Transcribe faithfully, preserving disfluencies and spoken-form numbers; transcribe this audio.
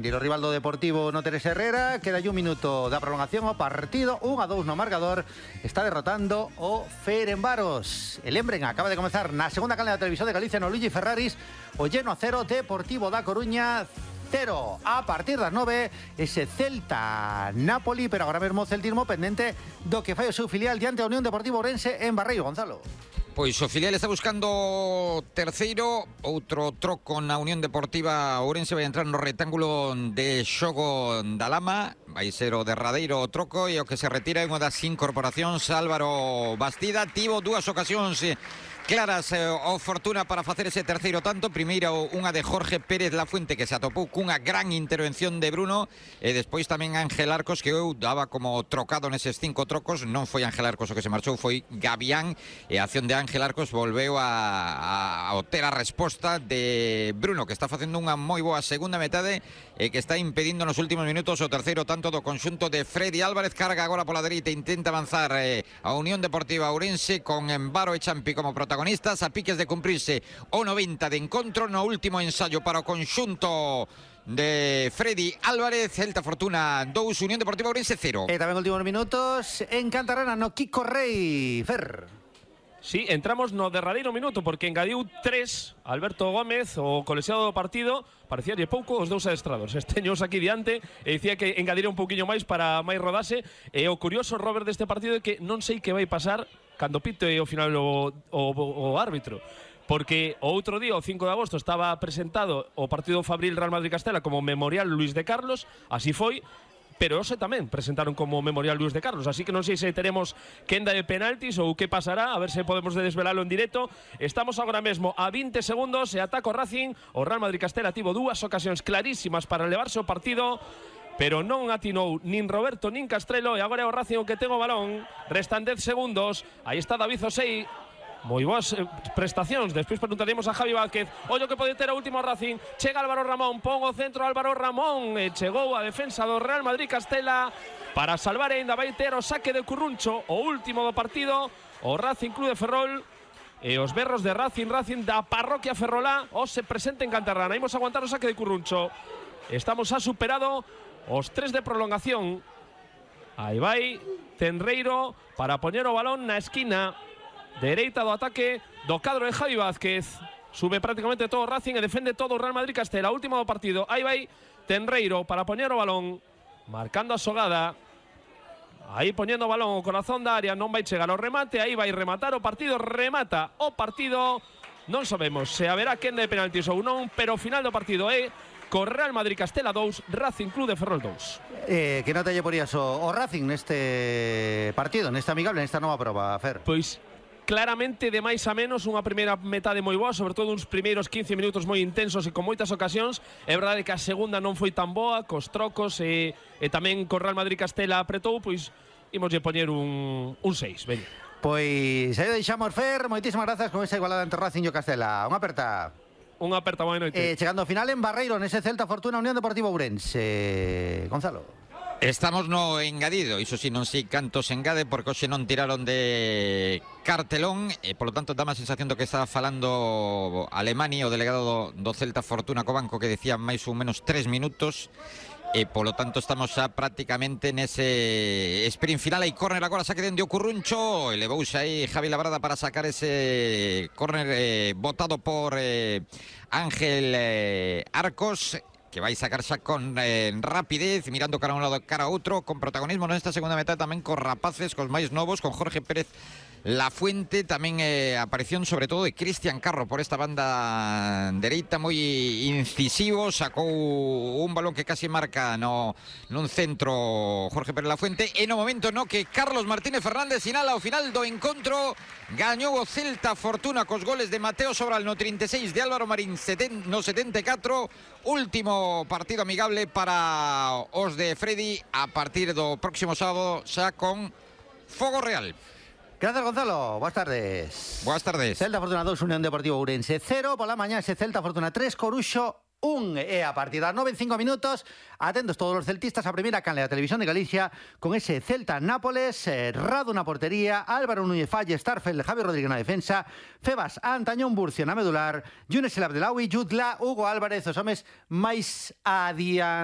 E o rival do Deportivo no Teresa Herrera, queda un minuto da prolongación ao partido, un a dous no marcador, está derrotando o Ferenbaros. El Embren acaba de comenzar na segunda canle da televisión de Galicia no Luigi Ferraris, o lleno a cero, Deportivo da Coruña cero. A partir das nove, ese Celta-Napoli, pero agora mesmo o celtismo pendente do que fai o seu filial diante a Unión Deportivo Ourense en Barreiro. Gonzalo. Pois o filial está buscando terceiro, outro troco na Unión Deportiva Ourense, vai entrar no rectángulo de xogo da Lama, vai ser o derradeiro troco, e o que se retira é unha das incorporacións, Álvaro Bastida. Tivo dúas ocasións claras eh, o Fortuna para facer ese terceiro tanto. Primeiro unha de Jorge Pérez Lafuente, que se atopou cunha gran intervención de Bruno, e despois tamén Ángel Arcos, que eu daba como trocado neses cinco trocos. Non foi Ángel Arcos o que se marchou, foi Gavián, e a acción de Ángel Arcos volveu a, a, a ter a resposta de Bruno, que está facendo unha moi boa segunda metade e que está impedindo nos últimos minutos o terceiro tanto do conxunto de Freddy Álvarez. Carga agora pola dereita, intenta avanzar eh, a Unión Deportiva Ourense con Embaro e Champi como protagonistas, a piques de cumprirse o noventa de encontro no último ensayo para o conxunto de Freddy Álvarez. Celta Fortuna dous, Unión Deportiva Ourense cero. E tamén últimos minutos en Cantarrana no Kiko Rei. Fer. Sí, entramos no derradeiro minuto, porque engadiu tres Alberto Gómez, o colexiado do partido. Parecía de pouco os dous adestrados esteños aquí diante, e dicía que engadira un pouquiño máis para máis rodase. E o curioso, Robert, deste partido é que non sei que vai pasar cando pite ao final o, o, o árbitro, porque o outro día, o cinco de agosto, estaba presentado o partido Fabril Real Madrid-Castela como Memorial Luis de Carlos, así foi, pero hoxe tamén presentaron como Memorial Luis de Carlos, así que non sei se teremos quenda de penaltis ou que pasará, a ver se podemos desvelalo en directo. Estamos agora mesmo a vinte segundos e ataca o Racing. O Real Madrid-Castela tivo dúas ocasións clarísimas para levarse o partido, pero non atinou nin Roberto nin Castrelo, e agora é o Racing o que ten o balón. Restan dez segundos, aí está David Osei. Moi boas eh, prestacións. Despois preguntaremos a Javi Vázquez. Ollo que pode ter o último Racing. Chega Álvaro Ramón, pon o centro Álvaro Ramón, e chegou a defensa do Real Madrid-Castela para salvar, e ainda vai ter o saque de Curruncho, o último do partido, o Racing Club de Ferrol. E os berros de Racing, Racing da parroquia ferrolá, o se presenta en Cantarrana. Imos aguantar o saque de Curruncho. Estamos a superado os tres de prolongación. Aí vai Tenreiro para poñer o balón na esquina dereita do ataque do cadro de Javi Vázquez. Sube prácticamente todo o Racing e defende todo o Real Madrid-Castela. Último do partido. Aí vai Tenreiro para poñer o balón, marcando a xogada. Aí poñendo o balón o corazón da área, non vai chegar ao remate. Aí vai rematar o partido, remata o partido. Non sabemos se haberá quenda de penaltis ou non, pero o final do partido é co Real Madrid-Castela dous, Racing Club de Ferrol dous. Eh, que nota lle porías o, o Racing neste partido, nesta amigable, nesta nova proba, Fer? Pois claramente de máis a menos, unha primeira metade moi boa, sobre todo uns primeiros quince minutos moi intensos e con moitas ocasións. É verdade que a segunda non foi tan boa, cos trocos e, e tamén co Real Madrid-Castela apretou, pois imoslle poñer un, un seis, veña. Pois aí deixamos, Fer, moitísimas grazas con esa igualada entre Racing e o Castela. Unha aperta. Unha aperta, boa noite. Eh, chegando ao final en Barreiro, nese Celta Fortuna Unión Deportiva Ourense. Gonzalo. Estamos no engadido, iso si non sei canto se engade, porque hoxe non tiraron de cartelón, e polo tanto dá má sensación do que estaba falando Alemani, o delegado do, do Celta Fortuna co banco, que decía máis ou menos tres minutos, e polo tanto estamos xa prácticamente nese sprint final. Hai córner agora, saque dende o Curruncho, elevouse aí Javi Labrada para sacar ese córner eh, botado por eh, Ángel eh, Arcos, que vai sacar xa con eh, rapidez, mirando cara a un lado cara a outro, con protagonismo nesta segunda metade tamén cos rapaces, cos máis novos, con Jorge Pérez Lafuente, tamén eh, aparición sobre todo de Cristian Carro por esta banda dereita, moi incisivo, sacou un balón que casi marca no nun centro Jorge Pérez Lafuente, e no momento no que Carlos Martínez Fernández sinala ao final do encontro. Gañou o Celta Fortuna cos goles de Mateo Sobral no trinta e seis, de Álvaro Marín no setenta e catro. Último partido amigable para os de Freddy a partir do próximo sábado, xa con Fogo Real. Gracias, Gonzalo. Boas tardes. Boas tardes. Celta Fortuna dous, Unión Deportiva Ourense cero. Pola mañá ese Celta Fortuna tres, Coruxo un. E a partir das nove e cinco minutos, atentos todos os celtistas a primeira canle da Televisión de Galicia con ese Celta-Nápoles, eh, Radu na portería, Álvaro Núñez Falle, Starfel, Javi Rodríguez na defensa, Febas, Antañón Burcio na medular, Younes El Abdelawi, Jutla, Hugo Álvarez, os homes máis adiantados.